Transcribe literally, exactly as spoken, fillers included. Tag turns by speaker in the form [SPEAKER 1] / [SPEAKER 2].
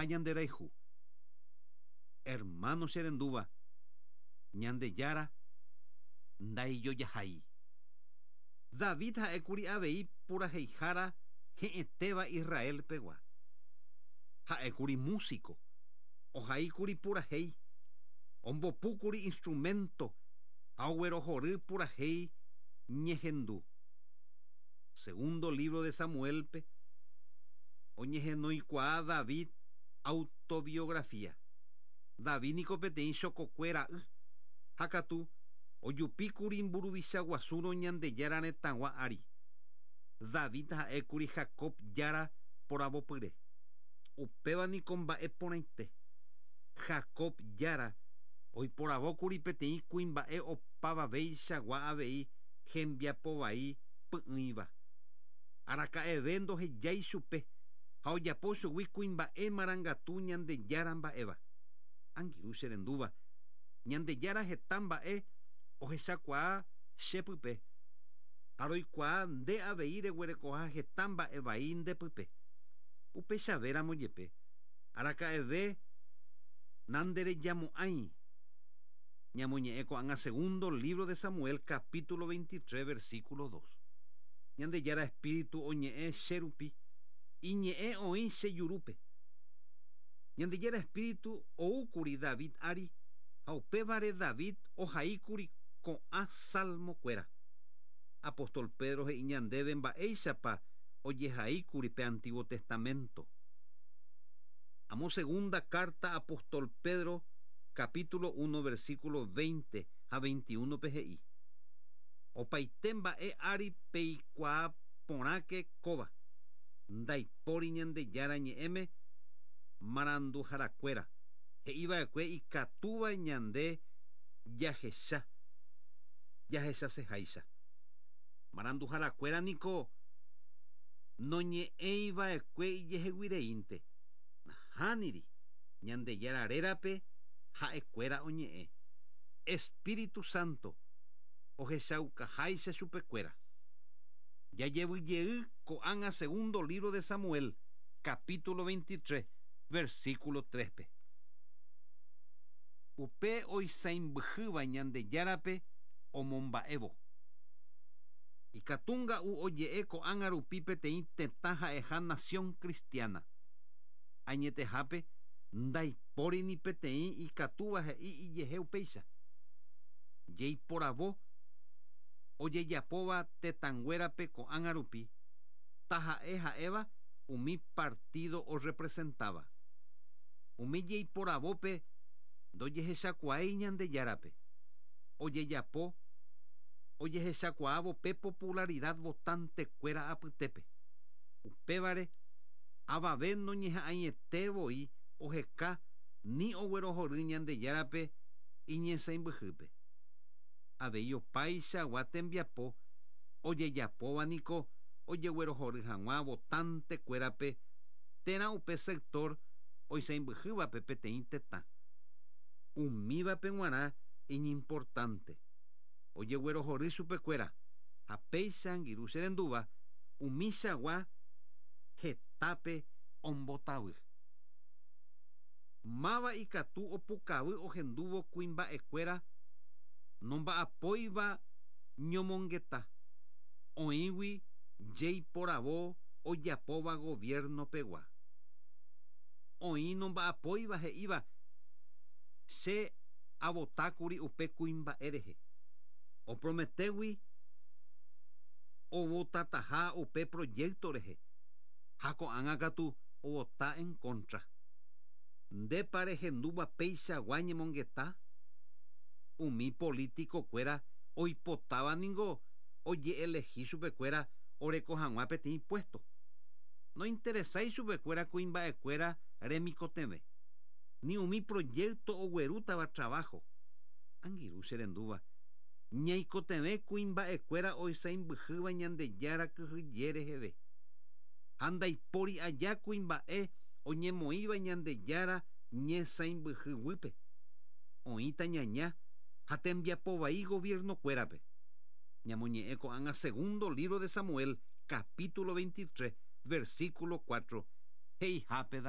[SPEAKER 1] Ha ñanderayhu. Hermano che rendúva, Ñandejára ndaijojahái. David ha'ékuri avei puraheihára he'ẽtéva Israel pegua. Ha'ékuri músico, ohaíkuri purahéi, ombopúkuri instrumento ha oguerohory purahéi ñehendu. Segundo libro de Samuelpe oñehenoikuaa David autobiografía. David niko peteĩ chokokue ra'y ha katu ojupíkuri mburuvicha guasúrõ Ñandejára retãgua ári. David ha'ékuri Jacob jára poravopyre. Upéva niko mba'e porãite. Jacob jára oiporavókuri peteĩ kuimba'e opavaveichagua avei hembiapovai py'ỹiva. Araka'eve ndohejái chupe ha ojapo chugui kuimba'e marangatu Ñandejára mba'éva. Angirũ che rendúva, Ñandejára heta mba'e ohechakuaa chepype. Ha roikuaa nde avei reguerekoha heta mba'e vai ndepype. Upechavéramo jepe, araka'eve nanderejamo'ãi. Ñamoñe'ẽ ko'ág̃a segundo libro de Samuel capítulo veintitrés versículo dos. Ñandejára espíritu oñe'ẽ che rupi, iñe'ẽ oĩ che jurúpe. Ñandejára espíritu oúkuri David ári ha upévare David ohaíkuri ko'ã salmokuéra. Apóstol Pedro he'i ñandéve mba'éichapa ojehaíkuri pe Antiguo Testamento. Amo segunda carta apóstol Pedro capítulo uno versículo veinte ha veintiuno pe he'i. Opaite mba'e ári peikuaa porãke kóva. Ndaipóri Ñandejára ñe'ẽme maranduharakuéra. He'iva'ekue ikatúva ñande jahecha. Jahechaseháicha. Maranduharakuéra niko noñe'ẽiva'ekue ijeheguireínte. Nahániri, Ñandejára rérape ha'ekuéra oñe'ẽ. Espíritu Santo ohechaukaháicha chupekuéra. Jajevyjey ko'ág̃a segundo libro de Samuel, capítulo veintitrés, versículo tres-pe. Upe oisãmbyhýva Ñandejárape omomba'évo. Ikatúnga'u oje'e ko'ág̃a rupi peteĩ tetã ha'eha nación cristiana. Añetehápe ndaipóri ni peteĩ ikatúva he'i ijehe upéicha. Jeiporavo ojejapóva tetãnguérape ko'ág̃a rupi, taha'e ha'éva umi partido orepresentáva. Umi jeiporavópe ndojehechakuaái Ñandejárape. Ojejapo ojehechakuaávo pe popularidad votantekuéra apytépe. Upévare avave noñeha'ãiete voi oheka ni oguerohory Ñandejárape iñesãimbyhýpe. Avei opaichagua tembiapo ojejapóva niko ojeguerohory hag̃ua votantekuérape térã upe sector oisãimbyhývape peteĩ tetã. Umívape g̃uarã iñimportante. Ojeguerohory chupekuéra ha péicha angirũ che rendúva umichagua hetápe ombotavy. Máva ikatu opukavy ohendúvo kuimba'ekuéra nomba'apóiva ñomongeta. Oĩgui jeiporavo ojapóva gobierno pegua. Oĩ nomba'apóiva he'íva che avotákuri upe kuimba'e rehe. Oprometégui ovotataha upe proyecto rehe. Ha ko'ág̃a katu ovota en contra. Ndépa rehendúva peichagua ñemongeta? Umi político-kuéra oipotáva ningo ojeelehi chupekuéra oreko hag̃ua peteĩ puesto. Nointeresái chupekuéra kuimba'ekuéra remikotevẽ. Ni umi proyecto oguerútava trabajo. Angirũ che rendúva, ñaikotevẽ kuimba'ekuéra oisãimbyhýva Ñandejára kyhyje reheve. Ha ndaipóri aja kuimba'e oñemoĩva Ñandejára ñesãimbyhýguipe. Oĩta ñaña ha tembiapovai gobierno-kuérape. Ñamoñe'ẽ ko'ág̃a segundo libro de Samuel, capítulo veintitrés, versículo cuatro. He'ihápe David.